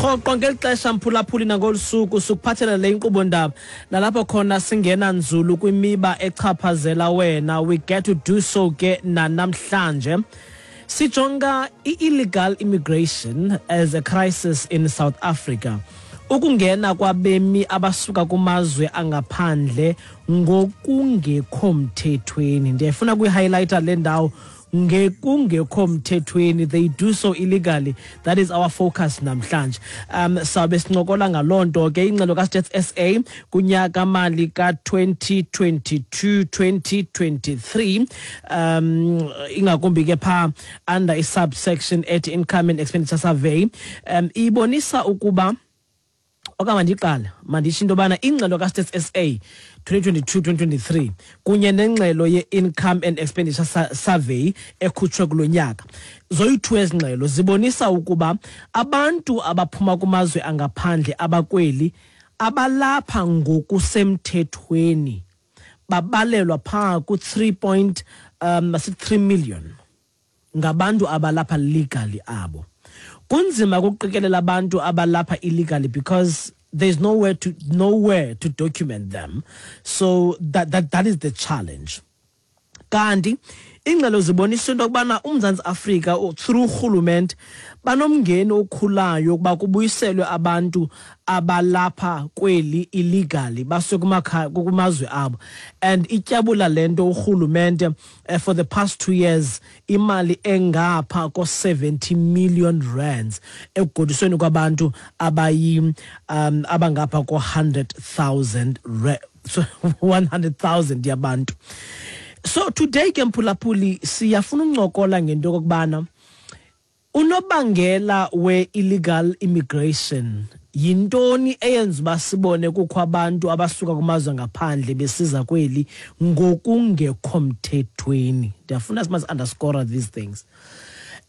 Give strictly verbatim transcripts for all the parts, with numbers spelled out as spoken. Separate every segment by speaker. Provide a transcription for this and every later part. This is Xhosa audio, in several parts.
Speaker 1: Rhoqo ngeli xesha, mphulaphuli, nangolu suku sikuphathela le inkqubo ndaba nalapho khona singena nzulu kwimiba echaphazela wena. We get to do so ke nanamhlanje. Sijonga i-illegal immigration as a crisis in South Africa, ukungena kwabemi abasuka kumazwe angaphandle ngokungekho mthethweni. Ndiyayifuna kuyi-highlighta le ndawo, ngekungekho mthethweni. They do so illegally. That is our focus namhlanje. um sawube sincokola ngaloo nto ke. Ingxelo kaStats S A kunyaka mali ka-twenty twenty-two twenty twenty-three, um ingakumbi ke phaa under i-subsection ethi Income and Expenditure Survey, um ibonisa ukuba, okanye mandiqale manditsho into yobana ingxelo kaStats S A twenty twenty-two twenty twenty-three kunye nengxelo ye-Income and Expenditure Survey ekhutshwe kulo nyaka, zoyi-two ezi ngxelo zibonisa ukuba abantu abaphuma kumazwe angaphandle abakweli abalapha ngokusemthethweni babalelwa phaa ku-three point um masithi three million, ngabantu abalapha legally abo. Kunzima ukuqikelela abantu abalapha illegally because there's nowhere to nowhere to document them, so that that that is the challenge. Kanti ingxelo zibonisa into yokubana uMzantsi Afrika through urhulumente banomngeni okhulayo ukuba kubuyiselwe abantu abalapha kweli illegally basuke kumakhaya kumazwe abo, and ityabula le nto urhulumente uh, for the past two years imali engapha ko-seventy million rands ekugodusweni kwabantu abayi um abangapha ko-hundred thousand, so one hundred thousand yabantu. So today ke, mphulaphuli, siyafuna uncokola ngento yokokubana unobangela we-illegal immigration yintoni, eyenza uba sibone kukho abantu abasuka kumazwe ngaphandle besiza kweli ngokungekho mthethweni. Ndiyafuna simasi underscore these things,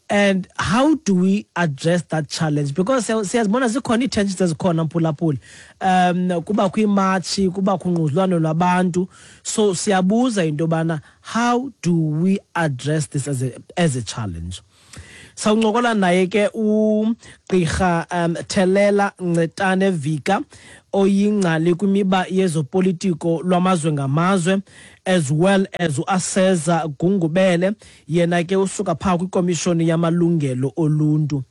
Speaker 1: and how do we address that challenge, because siyazibona zikhona ii-tensions ezikhona, mphulaphuli, um kubakho iimatshi, kubakho ungquzulwano lwabantu. So siyabuza into yobana how do we address this as a, as a challenge. Sawuncokola naye ke ugqirha um Thelela Ncetane Vika, oyingcali kwimiba yezopolitiko lwamazwe ngamazwe, as well as uAseza Gungubele, yena ke usuka phaa kwikomishoni yamalungelo oluntu.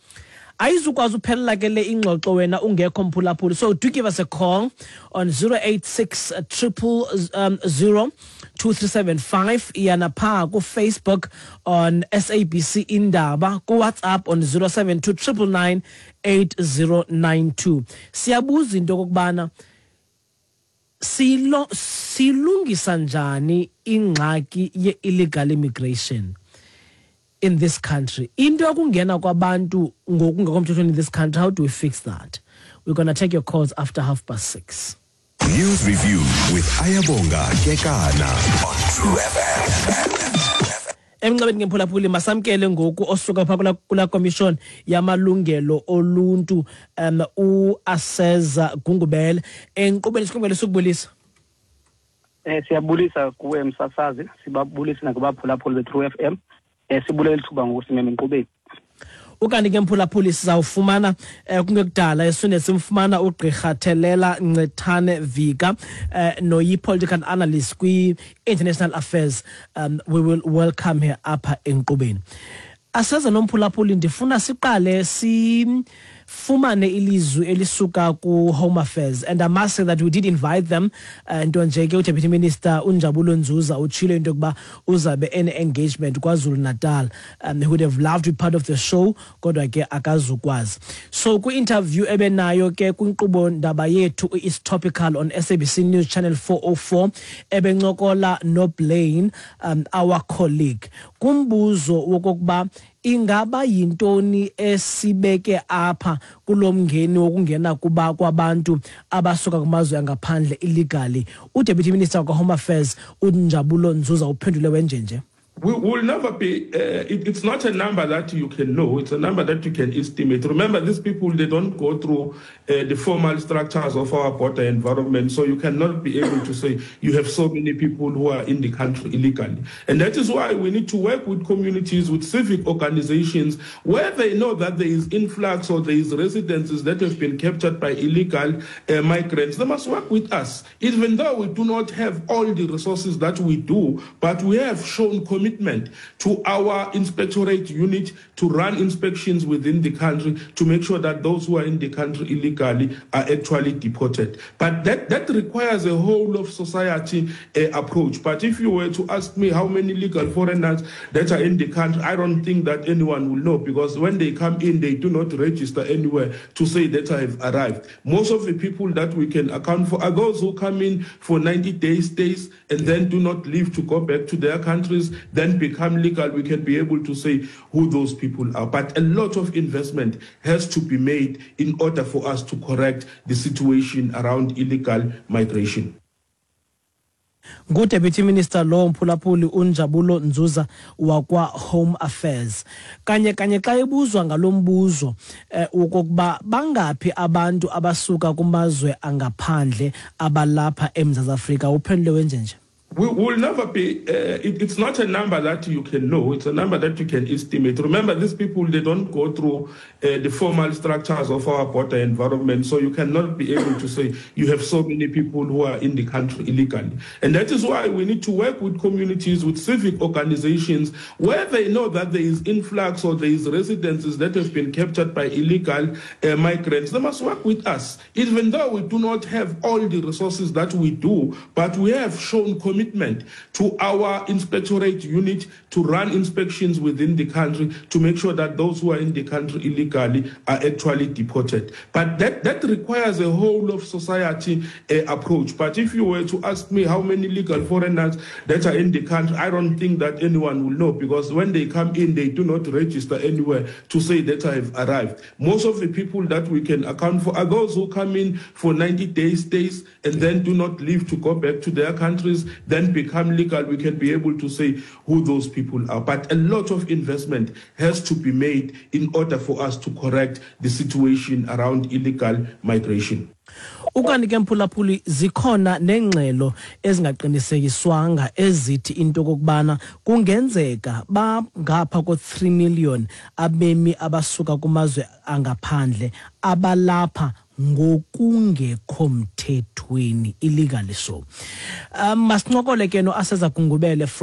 Speaker 1: Ayizukwazi uphelela ke le ingxoxo wena ungekho, mphulaphuli, so do give us a call on zero eight six triple um, zero two three seven five. Iyana phaa kuFacebook on S A B C Indaba, kuWhatsApp on zero seven two nine nine nine eight zero nine two. Siyabuza into okokubana silo silungisa njani ingxaki ye-illegal immigration in this country, into yokungena kwabantu ngokungekho mthethweni in this country. How do we fix that? We're going to take your calls after half past six.
Speaker 2: News Review with Ayabonga Kekana on True F M.
Speaker 1: Emnxebeni ngemphulaphuli, masamkele ngoku osuka phaa kula, kula commission yamalungelo oluntu, um uAseza Gungubele, enkqubeni. Sikubulisa, sukubulisa.
Speaker 3: Eh siyabulisa kuwe msasazi, sibabulise nakubaphulaphuli be-True F M. Eh sibulela ithuba ngokusimema enkqubeni.
Speaker 1: Ukanti ke, mphulaphuli, sizawufumana eh, kungekudala esune simfumana ugqirha Thelela Ncethane Vika, eh, noyi-political analyst kwi-international affairs. um, we will welcome her apha enkqubeni. Aseza nomphulaphuli, ndifuna siqale sifumane ilizwi elisuka ku-Home Affairs, and I must say that we did invite them, uh, nto nje ke uDeputy Minister uNjabulo Nzuza utshilo into yokuba uzabe ene-engagement KwaZulu Natal. um, he would have loved to be part of the show, kodwa ke akazukwazi. So kwi-interview ebenayo ke kwinkqubo ndaba yethu is Topical on S A B C News Channel four oh four, ebencokola noBlaine, um, our colleague, kumbuzo wokokuba ingaba yintoni esibeke apha kulo mngeni wokungena kuba kwabantu abasuka kumazwe angaphandle illegally, uDeputy Minister wakwa-Home Affairs uNjabulo Nzuza uphendule wenjenje.
Speaker 4: We will never be, uh, it, it's not a number that you can know, it's a number that you can estimate. Remember, these people, they don't go through uh, the formal structures of our border environment, so you cannot be able to say you have so many people who are in the country illegally. And that is why we need to work with communities, with civic organizations, where they know that there is influx or there is residences that have been captured by illegal uh, migrants. They must work with us, even though we do not have all the resources that we do, but we have shown commitment to our inspectorate unit to run inspections within the country to make sure that those who are in the country illegally are actually deported. But that, that requires a whole of society uh, approach. But if you were to ask me how many legal foreigners that are in the country, I don't think that anyone will know, because when they come in, they do not register anywhere to say that I have arrived. Most of the people that we can account for are those who come in for ninety day stays and then do not leave to go back to their countries, then become legal. We can be able to say who those people are. But a lot of investment has to be made in order for us to correct the situation around illegal migration.
Speaker 1: NguDeputy Minister lo, mphulaphuli, uNjabulo Nzuza wakwa Home Affairs. Kanye kanye xa ebuzwa ngalombuzo eh, okokuba bangaphi abantu abasuka kumazwe angaphandle abalapha eMzantsi Afrika, uphendule wenjenje.
Speaker 4: We will never be, uh, it, it's not a number that you can know, it's a number that you can estimate. Remember, these people, they don't go through uh, the formal structures of our border environment, so you cannot be able to say you have so many people who are in the country illegally. And that is why we need to work with communities, with civic organizations, where they know that there is influx or there is residences that have been captured by illegal uh, migrants. They must work with us, even though we do not have all the resources that we do, but we have shown commitment to our inspectorate unit to run inspections within the country to make sure that those who are in the country illegally are actually deported. But that, that requires a whole of society uh, approach. But if you were to ask me how many legal foreigners that are in the country, I don't think that anyone will know, because when they come in, they do not register anywhere to say that I have arrived. Most of the people that we can account for are those who come in for ninety day stays and then do not leave to go back to their countries, then become legal. We can be able to say who those people are. But a lot of investment has to be made in order for us to correct the situation around illegal migration.
Speaker 1: Ukanti ke, mphulaphuli, zikhona nengxelo ezingaqinisekiswanga ezithi into okokubana kungenzeka bangapha ko-three million abemi abasuka kumazwe angaphandle abalapha ngokungekho mthethweni, illegally. So um masincokole ke no-Aseza Gungubele from